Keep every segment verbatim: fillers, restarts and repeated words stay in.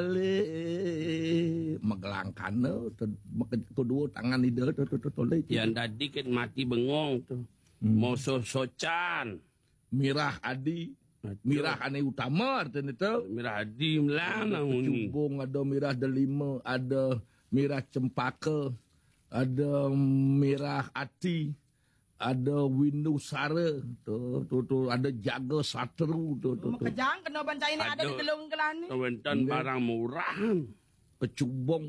Le, magelangkana, tu, maka-, kedua tangan ida tu, tu, tu, tu, le. Yan dadi ken mati bengong tu. Hmm. Moso socan. Mirah adi. Aduh. Mirah ane utama artinya tu. Mirah adi melang. Ada nang uni. Kecubung, ada mirah delima, ada mirah cempaka, ada mirah ati, ada windu sara, tu, tu, tu, ada jaga satru, tu, tu, tu. Makejang kena bancai ni ada di telung kelani. Wenten barang murah. Kecubung,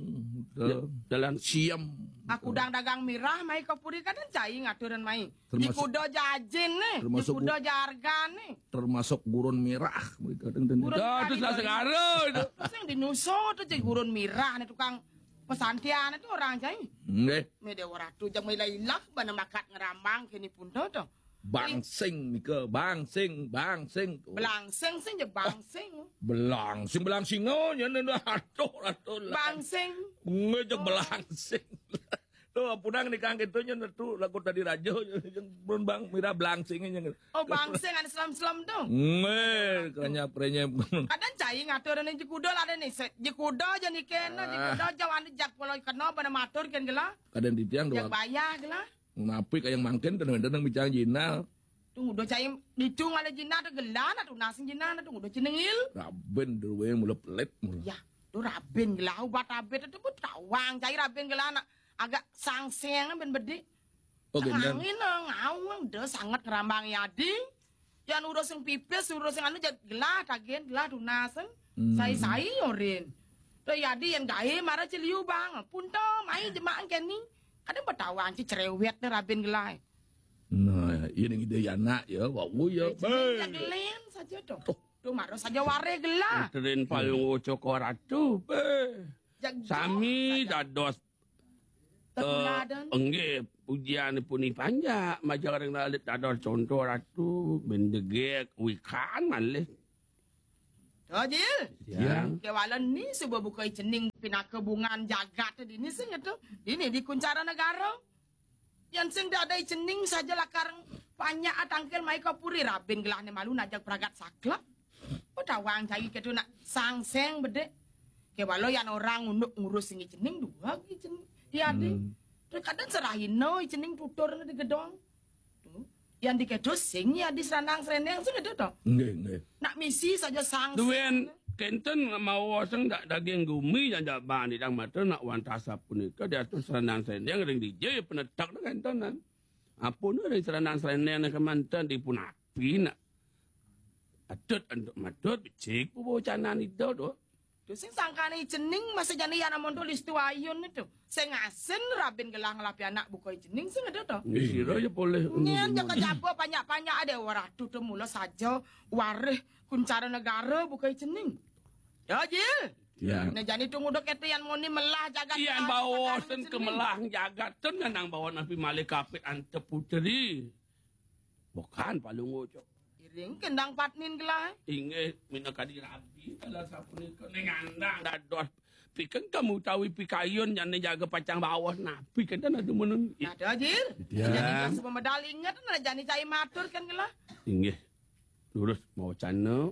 tu. Ya, dalam siam. Aku dang dagang mirah, mai ka puri kadang cai ngaturan mai. Termasuk, jikuda jajin ni, termasuk jikuda gu-, jarga ni. Termasuk gurun mirah, kadang, kadang. Gurun mirah tu di salah segara tu. Sing di Nusa tu cai gurun mirah ni tukang pesantian tu orang cai. Nggih. Mede ora tu jang ilah-ilah bana makat ngerambang kini pun tu tu. Bangsing nika, bangsing, bangsing tu. Belangsing sing je bangsing. Belangsing, belangsing oh, nya atuh, atuh lah. Bangsing. Ngejek belangsing. Tu, punang ni kang gitu nya tu lagu tadi raja, yang belum bang, mira belangsing nya. Oh, bangsing ada selam-selam tu. Nge, keranya prenyem. Kadang cai ngatur ni jikuda lah ada ni. Se-, jikuda je ni kena, jikuda je wani jak pulau kena pada matur ken gela. Kadang di tiang jak dua. Bayar gela. Napi kayang mangkin tenang-tenang bicang jinal. Tu udah cai ditung ada jinal tu gela na tu nasing jinal na tu udah cenengil. Raben dulu yang mula pelit mula. Ya, tu raben gela ubat abet tu pun tawang cai raben gela na agak sangseng ben bedik. Oh, bener. Angin ngawang dah sangat ngerambang yadi. Yan urus sing pipis, urus sing anu jad gelah tagen, gelah tunas. Hmm. Sai-sai orin. Tu yadi yan gae mara ciliu bang. Punta mai jemaah keni. Kadang betawang ci cerewet ni rabin gelah. Nah, ini ide ya anak ya, wau ya. Jadi gelen saja tu. Tu mara saja ware gelah. Terin palung ucok ratu. Be. Sami dados Tetuladan. Eh, nggih, pujian puni panjak, majeng ring lalit dados conto ratu, ben jegeg, wikan malih. To, Jil. Ya. Kewala ni suba buka cening pinaka bungan jagat dini sing tu. Dini di Kuncara Negara. Yan sing dadi cening saja lakar panjak atangkil mai ka puri rabin gelahne malu najak pragat saklek. Petawang cai ketu nak sangseng bedek. Kewala yan orang unduk ngurus sing cening dua gi cening. Ya di. Hmm. Tu kadang serahina cening tutur di gedong. Tu. Yan di ketu sing ya di seranang sereneng sing ketu to. Nggih, nggih. Nak misi saja sangseng. Duwen kenten mawa sing dak daging gumi yang dak bani dang mata nak wantasa punika diatur seranang sereneng ring dija ya penetak tu kenten kan. Apa ni ring seranang sereneng ni kemanten dipun api nak. Atut antuk matut, becik pu bawa canan ida tu. Tu sing sangkane cening masa jani yana monto listu ayun tu. Sing asin rabin gelah ngelapi anak bukai cening sing ada tu. Nggih, sira ya boleh. Nyen jaka jaba panjak-panjak ada waratu tu mula saja warih Kuncara Negara bukai cening. Ya, Jil. Ya. Nah, jani tu nguduk kete yan moni melah jagat. Yan bawa sen ke melah jagat tu nang bawa napi malih kapit ante puteri. Bukan palung ucok. Iring kendang patnin gelah. Inggih, minakadi rabi, kalau sapunika ning andang dados pikeng kamu utawi pikayun jane jaga pacang bawah napi kenten adu meneng. Ada, Jil. Ya. Jani kan suba medal inget, nah, jani cai matur kan gelah. Inggih. Lurus mawacana.